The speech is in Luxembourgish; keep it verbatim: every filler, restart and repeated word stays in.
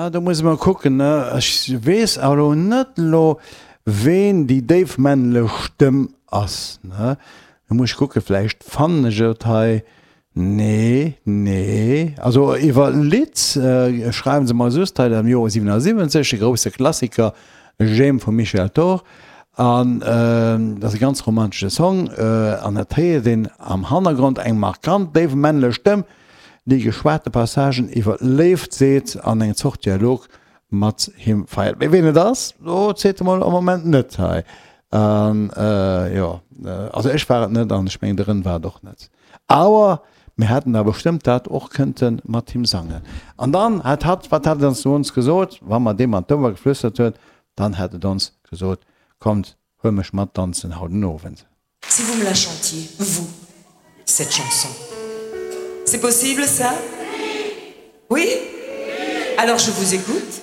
Ah, do muss ech mol kucken, ne? Ech weess awer elo net elo, ween déi déif männlech Stëmm ass, ne? Do muss ech kucken, vläicht fannen ech et hei. Nee, nee. Also iwwer Lidd schreiwen se mer just hei am Joer siwenasiwwenzeg, de grousse Klassiker J'aime vum Michel Thor. An dat ass e ganz romantesche Song an et héiert een am Hannergrond eng markant déif männlech Stëmm, déi geschwate Passagen iwwer d'Léift seet an eng Zort Dialog mat him feiert. Mee ween et ass, do seet e mol am Moment net hei. An jo, also ech war et net an ech mengen de Rën war et och net. Awer mir hätten da bestëmmt dat och kënnte mat him sangen. An dann hat hatt, wat hat et ons zu ons gesot, wa mer deem an d'Ouer geflüstert huet, dann hätt et ons gesot, Kommt, huel mech mat danzen haut den Owend. Si vous me la chantiez, vous, cette chanson. C'est possible ça? Oui? Alors je vous écoute.